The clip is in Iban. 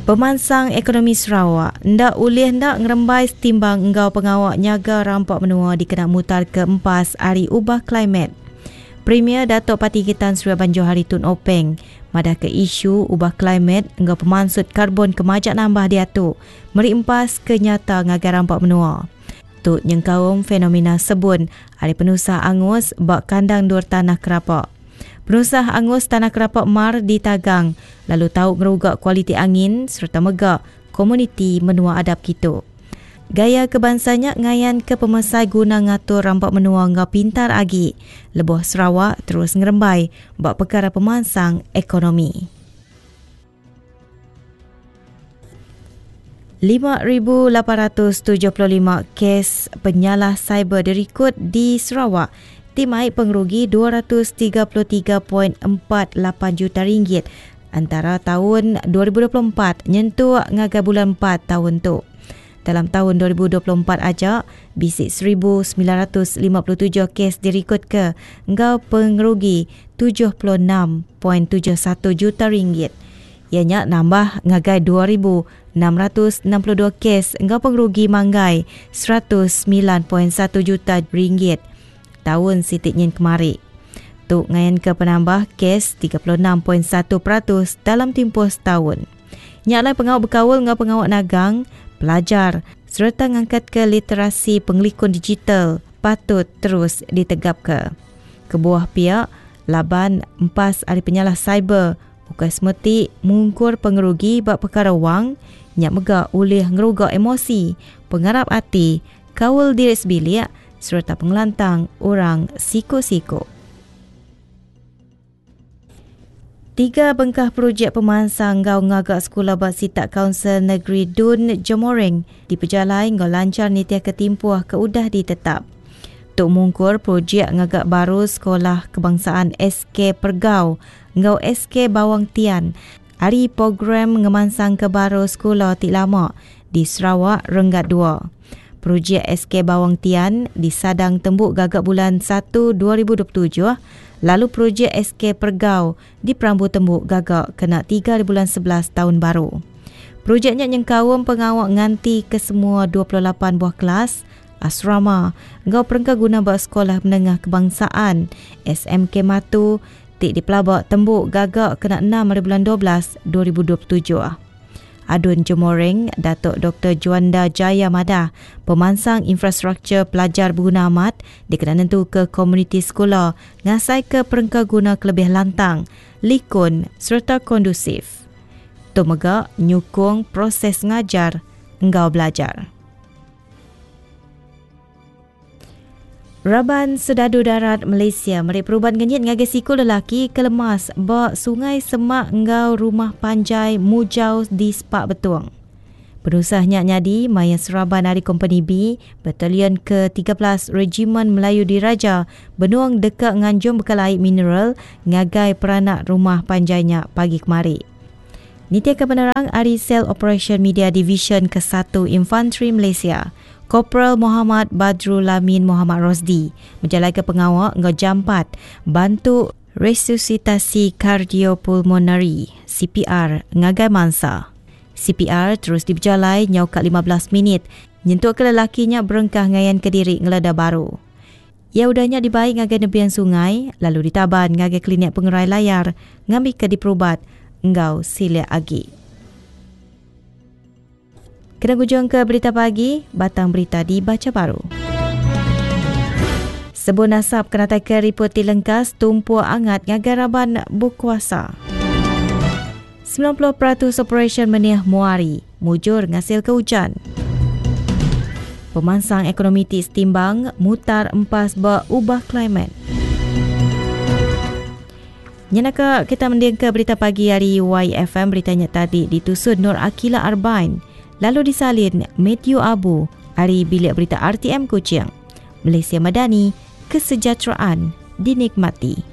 Pemansang ekonomi Sarawak enda ulih enda ngerembai setimbang enggau pengawa nyaga rampa menua dikena mutarka empas ari ubah klimet. Premier Datuk Patinggi Tan Sri Abang Johari Tun Openg madahka isu ubah klimet enggau pemansut karbon ke majak nambah diatu meri empas ke nyata ngagai rampa menua. Tu nyengkaum fenomena sebun ari penusah angus ba kandang endur tanah kerapa. Penusah angus tanah kerapa mar ditagang lalu tau ngeruga kualiti angin sereta mega komuniti menua adap kitu. Gaya ke bansa nya ngayanka pemesai guna ngatur rampa menua enggau pintar agi lebuh Sarawak terus ngerembai ba pekara pemansang ekonomi. 5,875 kes penyalah siber dirikod di Sarawak ti mai pengerugi 233.48 juta ringgit antara taun 2024 nyentuk ngagai bulan empat taun tu. Dalam taun 2024 aja, bisi 1,957 kes dirikodka enggau pengerugi 76.71 juta ringgit. Iya nya nambah ngagai 2,662 kes enggau pengerugi manggai 109.1 juta ringgit taun siti nyin kemari. Tu ngayanka penambah kes 36.1% dalam timpuh setaun. Nya alai pengawa bekaul enggau pengawa nagang, pelajar sereta ngangkatka literasi pengelikun digital patut terus ditegapka. Kebuah pia laban empas ari penyalah siber Ukai semeti mungkur pengerugi ba pekara wang, nya mega ulih ngeruga emosi, pengarap ati, kaul diri sebilik sereta pengelantang orang siku-siku. Tiga bengkah projek pemansang enggau ngaga sekula ba sitak Kaunsil Negeri Dun Jemoreng dipejalai enggau lanchar nitihka timpuh ke udah ditetap. Tu mungkur projek ngaga baru Sekolah Kebangsaan SK Pergau enggau SK Bawang Tian ari program ngemansangka baru sekula ti lama di Sarawak renggat dua. Projek SK Bawang Tian disadang tembu gaga bulan satu 2027 lalu projek SK Pergau diperambu tembu gaga kena tiga bulan 11 taun baru. Projek nya nyengkaum pengawa nganti kesemua 28 buah kelas, asrama enggau perengka guna ba Sekolah Menengah Kebangsaan, SMK Matu, ti dipelaba tembu gaga kena enam hari bulan 12 2027. Adun Jemoreng, Datuk Doktor Juanda Jaya madah, pemansang infrastruktur pelajar beguna amat dikena nentuka komuniti sekula ngasaika perengka guna ke lebih lantang, likun sereta kondusif. Tu mega nyukung proses ngajar enggau belajar. Raban Sedadu Darat Malaysia meri perubat ngenyit ngagai siku lelaki ke lemas ba Sungai Semak enggau Rumah Panjai Mujau di Spak Betong. Penusah nya nyadi maya seraban ari Kompeni B, Batalion ke 13 Regimen Melayu Diraja benung deka nganjung bekal ai mineral ngagai peranak rumah panjai nya pagi kemari. Nitihka penerang ari Sel Operasyen Media Divisyen Kesatu Infantri Malaysia, Koperal Mohamad Badrul Lamin Mohamad Rosdi bejalaika pengawa enggau jampat bantu resusitasi kardiopulmonari, CPR, ngagai mansa. CPR terus dipejalai nyau ka 15 minit nyentukka lelaki nya berengkah ngayanka diri ngeleda baru. Iya udah nya dibai ngagai nebian sungai lalu ditaban ngagai Klinik Pengerai Layar ngambika diperubat enggau silik agi. Kena ngujungka berita pagi, batang berita dibacha baru. Sebun asap kenataika riput ti lengkas tumpuk angat ngagai raban bekuasa. 90% operasyen menih Muari mujur ngasilka ujan. Pemansang ekonomi ti setimbang mutar empas ba ubah klimet. Nyenaka kita mendingka berita pagi ari YFM berita nya tadi ditusun Nur Akila Arbain lalu disalin Matthew Abu ari Bilik Berita RTM Kuching. Malaysia Madani, kesejahteraan dinikmati.